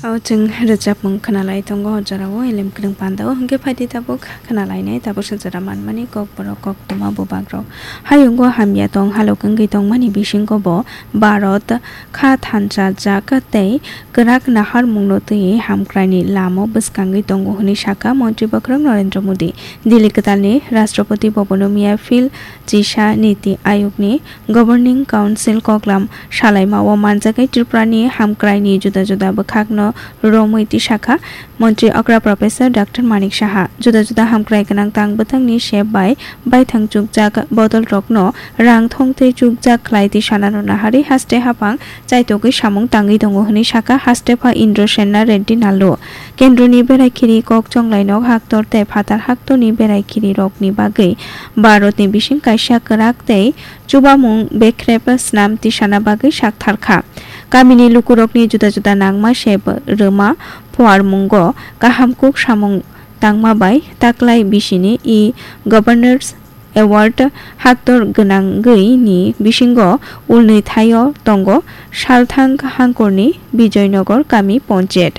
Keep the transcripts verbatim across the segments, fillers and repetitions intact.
O chwng rwchapmung khwnalai tongo o jorao elem kwrwng pandao, hwnkhe phaidi tabuk khwnalainai tabuksa jora manmani kokborok koktwma bubagrok. Hayungo hamya tong halok wngwi tongmani bisingo bo Bharat kha thansa jak tei kwrak naharmungno twiwi hamkraini lamo bwskangwi tongo hwnwi sakha Montri Bwkhwrang Narendra Modi. Delhi kwtalni Rashtrapati Bhabono miya phil chisa Niti Ayogni Governing Council koklam salaimao manjakwi Tripurani hamkraini juda juda bwkhakno romwi tisakha Montri okra Professor Doctor Manik Saha. Juda juda hamkrai gwnang tang bwthangni sep bai baithang chukjak bodolrokno rang thong tei chukjak khlai tisanano naharwi haste haphang chaitogwi samung tangwi tongo hwnwi sakha hastepha Indrasena Reddy Nallu. Kendroni berai khiri kok chonglainok haktor tei phatar haktorni berai khirirokni bagwi Bharatni bising kaisa kwrak tei chubamung bekrep snam tisana bagwi saktharkha. Kamini lukurokni juda juda nangma sep rwma phuarmungo kaham kuk samung tangma bai taklai bisini e-Governors Award haktor gwnangwi ni bisingo ulnwi thaio tongo Salthang Hangkorni Bijoynagar Kami Ponchayat.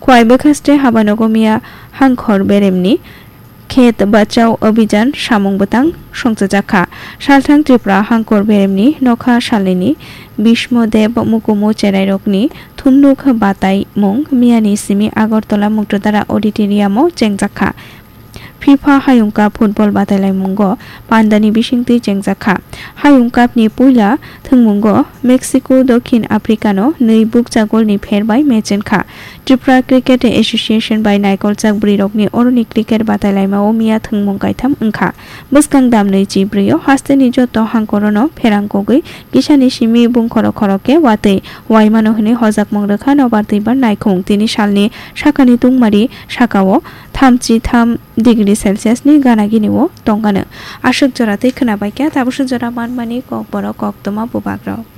Khwai bwkhaste habanogo miya Hangkhor Beremni Khet Bachao Abhijan samung bwtang songchajakha. Salthang Tripura Hangkhor Beremni nokha salnini Bhishmo Dev Mukumu cherairokni thumnuk bataimung miyani simi Agartala Muktrudara Auditorium-o chengjakha. FIFA Hayung Cup football batailaimungo pandani bisingtwi chengjakha. Hayung Cup ni puila thwngmungo Mexico Dokhin Africa no nwi bukcha golni pher bai match wngkha. Tripura Cricket Association bai naikolchak bwrwirokni oroni cricket batailaimao miya thwngmung kaitham wngkha. Bwskang damnwi chibrwi o hasteni joto hangkorono pherang kogwi kisani simi bung khoro khoro khe watwi waimano hwnwi hojakmung rwkha nobar twibar naikhung. Tini salni sakani tungmari sakao thamchi tham degree Celsius ni gana gini o tongkha. Aswk jora tei khwna bai kha tabuksa jora manmani kokborok koktwma bubagrok.